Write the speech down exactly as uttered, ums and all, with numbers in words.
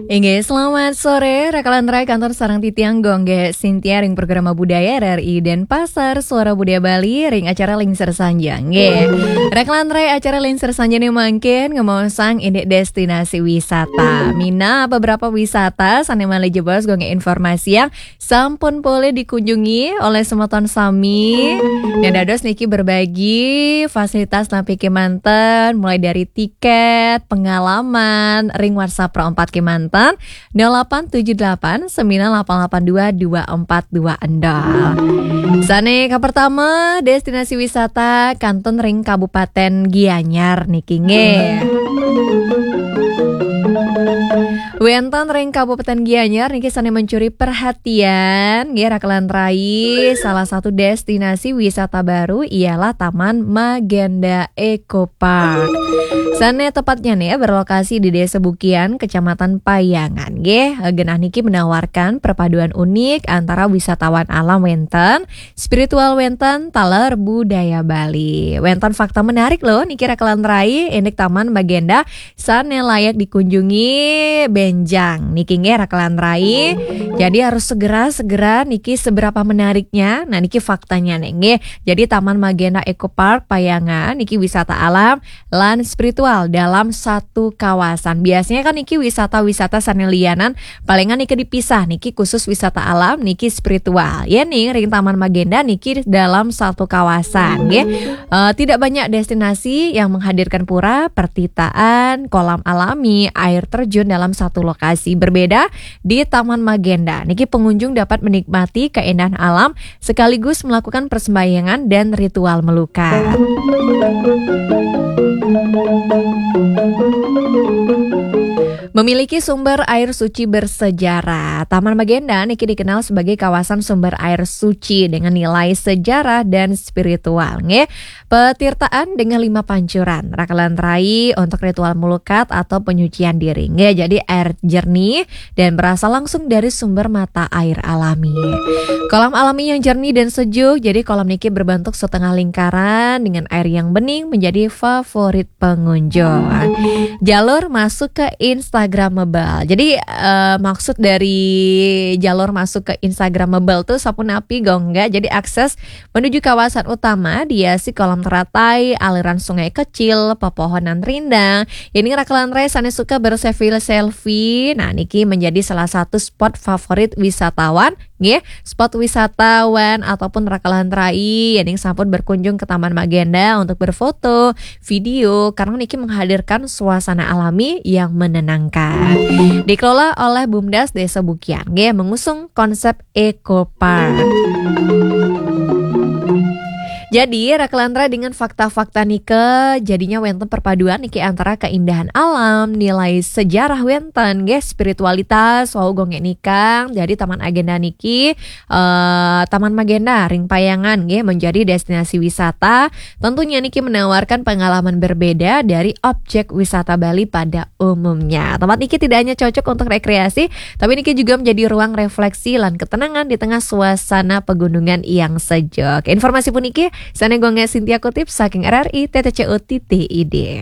Inggih, selamat sore, Raka lan Rai, kantun sareng titiang Gung Gé Sintia ring programa budaya R R I Denpasar, Suara Budaya Bali, ring acara Lingser Sanja. Inggih. Raka lan Rai, acara Lingser Sanja né mangkin ngemaosang indik destinasi wisata. Minab beberapa wisata sané malih jebos Gung Gé informasiang sampun polih dikunjungi olih semeton sami. Nah, dados niki berbagi fasilitas napi kémanten, mulai dari tiket, pengalaman, ring WhatsApp Pro empat kémanten, nol delapan tujuh delapan sembilan delapan delapan dua dua empat dua nol. Sané kapertama, destinasi wisata kantun ring Kabupaten Gianyar niki nggih. Wénten ring Kabupaten Gianyar niki sané mencuri perhatian, nggih, Raka lan Rai, salah satu destinasi wisata baru ialah Taman Magenda Eco Park. Sané tepatnya nih berlokasi di Desa Bukian, Kecamatan Payangan, nggih. Genah niki menawarkan perpaduan unik antara wisatawan alam wénten, spiritual wénten, taler budaya Bali. Wénten fakta menarik loh niki, Raka lan Rai, indik Taman Magenda sané layak dikunjungi bénjang niki nggih, Raka lan Rai. Jadi harus segera-segera niki, seberapa menariknya. Nah, niki faktanya nih nggih. Jadi Taman Magenda Eco Park Payangan niki wisata alam lan spiritual dalam satu kawasan. Biasanya kan niki wisata-wisata sané lianan palingan niki dipisah, niki khusus wisata alam, niki spiritual. Ya nih, ring Taman Magenda niki dalam satu kawasan nggih. Eh, tidak banyak destinasi yang menghadirkan pura, pertitaan, kolam alami, air terjun dalam satu lokasi. Berbeda di Taman Magenda. Niki pengunjung dapat menikmati keindahan alam sekaligus melakukan persembahyangan dan ritual melukat. Memiliki sumber air suci bersejarah. Taman Magenda niki dikenal sebagai kawasan sumber air suci dengan nilai sejarah dan spiritual, nggih. Petirtaan dengan lima pancuran, Raka lan Rai, untuk ritual melukat atau penyucian diri, nggih. Jadi air jernih dan berasal langsung dari sumber mata air alami. Kolam alami yang jernih dan sejuk, jadi kolam niki berbentuk setengah lingkaran dengan air yang bening, menjadi favorit pengunjung. Jalur masuk ke Instagramable. Jadi, eh, maksud dari jalur masuk ke Instagramable tuh sapunapi, Gung Gé? Jadi akses menuju kawasan utama dihiasi kolam teratai, aliran sungai kecil, pepohonan rindang. Ini, Raka lan Rai, sané suka berselfie-selfie. Nah, niki menjadi salah satu spot favorit wisatawan, nggih. Spot wisatawan ataupun Raka lan Rai yang sampun berkunjung ke Taman Magenda untuk berfoto, video, karena niki menghadirkan suasana alami yang menenangkan. Dikelola oleh Bumdes Desa Bukian, nggih, mengusung konsep Eco Park. Jadi, Raka lan Rai, dengan fakta-fakta nike, jadinya wénten perpaduan niki antara keindahan alam, nilai sejarah wénten, nggih, spiritualitas, wau Gung Gé nikang. Jadi, Taman Agenda niki, eh, Taman Magenda ring Payangan, nggih, menjadi destinasi wisata. Tentunya niki menawarkan pengalaman berbeda dari objek wisata Bali pada umumnya. Tempat niki tidak hanya cocok untuk rekreasi, tapi niki juga menjadi ruang refleksi lan ketenangan di tengah suasana pegunungan yang sejuk. Informasi puniki sané Gung Gé Sintia kutip saking R R I T T C U titik I D.